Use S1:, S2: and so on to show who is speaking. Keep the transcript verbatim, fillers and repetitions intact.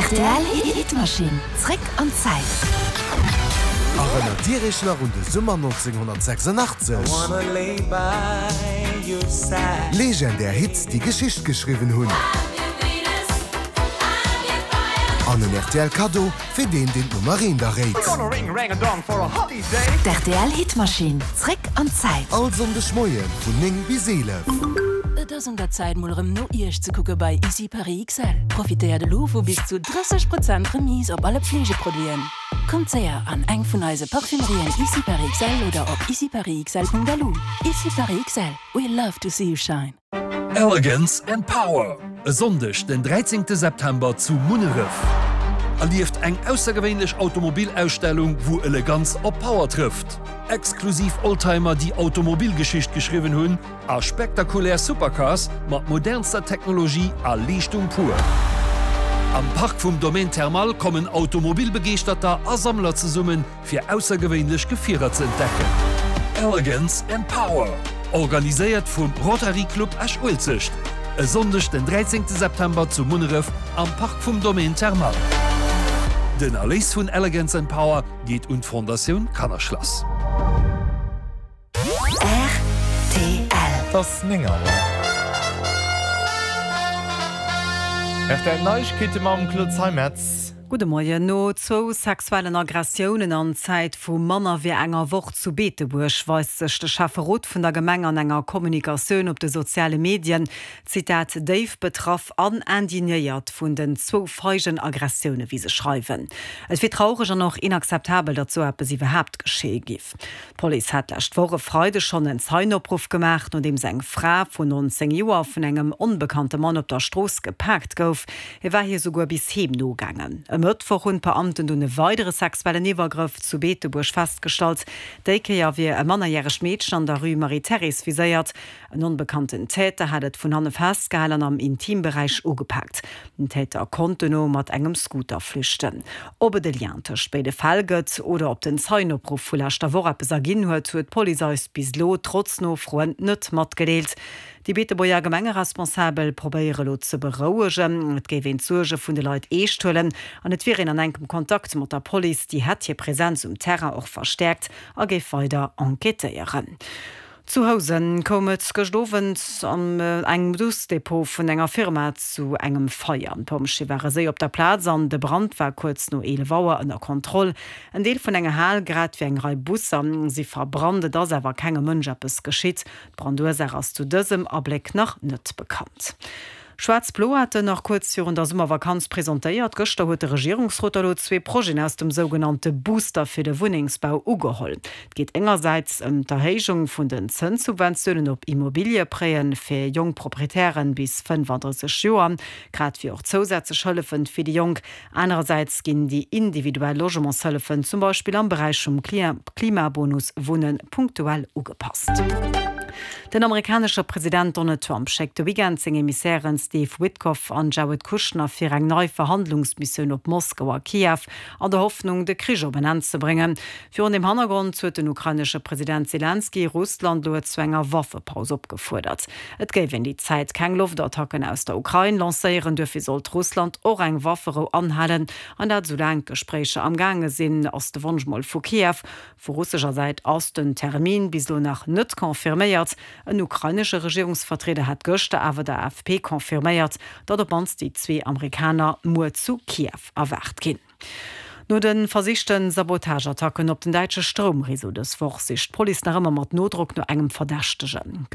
S1: Rtl Hitmaschinn, zréck an d'Zäit.
S2: Erënnert Dir Iech nach un de Summer nonzénghonnertsechsundachtzeg? Legendär Hits, déi Geschicht geschriwwen hunn. An en rtl Kaddo fir deen, deen d'Nummer eent erréit.
S1: D'R T L Hitmaschinn, zréck an d'Zäit.
S2: All Sonndeg Moie vun néng bis eelef.
S3: Et ass un der Zäit, mol erëm no Iech ze kucke bei Ici Paris X L. Profitéiert elo vu bis zu drësseg Prozent Remise op alle Pflegeproduiten. Kommt séier an eng vun eise Parfumerien Ici Paris X L oder op iciparisxl Punkt L U. Ici Paris X L. We love to see you shine.
S4: Elegance and Power, e Sonndeg den dräizéngte September zu Munneref. Erlieft eng aussergewéinlech Automobilausstellung, wou Eleganz op Power trëfft. Exklusiv Oldtimer, déi Automobilgeschicht geschriwwen hunn, a spektakulär Supercars mat modernster Technologie a Leeschtung pur. Am Park vum Domaine Thermal kommen Automobilbegeeschterter a Sammler zesummen, fir aussergewéinlech Gefierer ze entdecken. Elegance and Power, organiséiert vum Rotary Club Esch-Uelzecht. E Sonndeg den dräizéngte September zu Munneref am Park vum Domaine Thermal. Den Erléis vun Elegance and Power geet un d'Fondatioun Kannerschlass.
S1: R T L.
S5: Et ass néng Auer. R T L Neiegkeete mam Claude Zeimetz.
S6: Gudde Moien. No zwou sexuellen Aggressiounen an Zäit vu manner wéi enger Woch zu Beetebuerg weist sech de Schäfferot vun der Gemeng an enger Kommunikatioun op de soziale Medien, Zitat, déif betraff an indignéiert vun den zwou feigen Aggressioune, wéi se schreiwen. Et wier traureg an och inakzeptabel, datt sou eppes iwwerhaapt geschéie giff. D'Police hat d'lescht Woch e Freideg schonn en Zeienopruff gemaach, nodeems eng Fra vun nonzéng Joer vun engem onbekannte Mann op der Strooss gepaakt gouf. Hie war hir souguer bis heem nogaangen. E Mëttwoch hunn d'Beamten dunn e weidere sexuellen Iwwergrëff zu Beetebuerg festgestallt. Déi Kéier wier e mannerjäregt Meedchen an der Rue Marie-Thérèse viséiert. En onbekannten Täter hat et vun hanne festgehalen an am Intimberäich ugepaakt. Den Täter konnt duerno mat engem Scooter flüchten. Ob et e Lien tëscht béide Fäll gëtt oder ob den Zeienopruff vu leschter Woch eppes erginn huet, huet d'Police eis bis elo trotz Nofroen net matgedeelt. Déi Beetebuerger Gemengeresponsabel probéiere elo ze berouegen, et géif een d'Suerge vun de Leit eescht huelen an et wier een an enkem Kontakt mat der Police, déi hätt hir Presenz um Terrain och verstäerkt a géif weider enquêtéieren. Zu Housen koum et gëscht Owend an engem Busdepot vun enger Firma zu engem Feier. D'Pompjeeë ware séier op der Plaz an de Brand war kuerz no eelef Auer ënner Kontroll. En Deel vun enger Hal grad wéi eng Rei Busser si verbrannt, et ass awer kengem Mënsch eppes geschitt. D'Brandursaach ass zu dësem Abléck nach net bekannt. Schwaarz-Blo haten nach kuerz virun der Summervakanz presentéiert. Gëschter huet de Regierungsrot elo zwee Projeten aus dem sougenannte Booster fir de Wunnengsbau ugeholl. Et geet engersäits ëm d'Erhéijung vun den Zënssubventiounen op Immobiliëprêten fir jonk Proprietären bis fënnefandrësseg Joer, grad wéi och zousätzlech Hëllefen fir déi Jonk. Anerersäits ginn déi individuell Logementshëllefen, zum Beispill am Beräich vum Klimabonus Wunnen, punktuell ugepasst. Den amerikanesche President Donald Trump schéckt de Weekend seng Emissären Steve Witkoff an Jared Kushner fir eng nei Verhandlungsmissioun op Moskau a Kiew, an der Hoffnung, de Krich op en Enn ze bréngen. Virun deem Hannergrond huet den ukrainesche President Selenskyj Russland elo zu enger Waffepaus opgefuerdert. Et géif een déi Zäit keng Loftattacken aus der Ukrain lancéieren, duerfir sollt Russland och eng Wafferou anhalen, an dat soulaang d'Gespréicher am Gaange sinn, ass de Wonsch mol vu Kiew. Vu russescher Säit ass den Termin bis elo nach net confirméiert. En ukrainesche Regierungsvertrieder hat gëschter awer der A F P confirméiert, datt op d'mannst déi zwee Amerikaner muer zu Kiew erwaart ginn. No de versichte Sabotageattacken op den däitsche Stroumreseau dës Woch sicht d'Police nach ëmmer mat Nodrock no engem Verdächtegen.